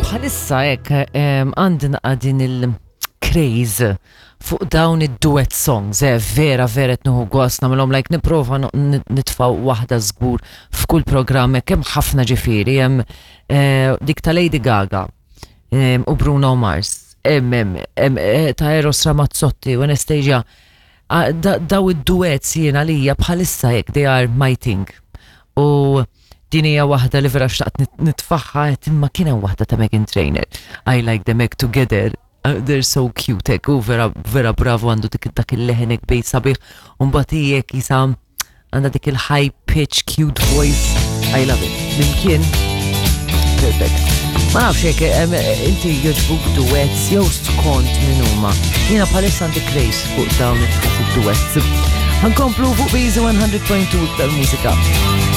Bħalissa hekk għandi naqa' din il-craze fuq dawn id-duet songs, eh, vera vera qed nieħu gost nagħmilhom like nipprova nitfgħu waħda żgur f'kull programm hekk hemm ħafna ġifieri hemm eh, dik ta' Lady Gaga u Bruno Mars, hemm hemm eh, ta' Eros Ramazzotti u Anastasia. Ah, daw id-duets jiena lija bħalissa hekk they are my thing. U din hija waħda li vera xtaqt nitfaħħa qed imma kien hemm waħda ta' Meghan Trainor. I like them hekk together. They're so cute hekk u vera vera bravo għandu dik dak il-leħen hekk bejn sabiħ u mbagħad hi hekk jisa għandha dik il-high pitch cute voice. I love it. Mimkien perfect. Ma nafx hekk inti jogħġbuk duets jew skont min huma. Jiena bħalissa għandi craze fuq dawn it-duets. Ħankomplu fuq Biżi 100.2 iktar mużika.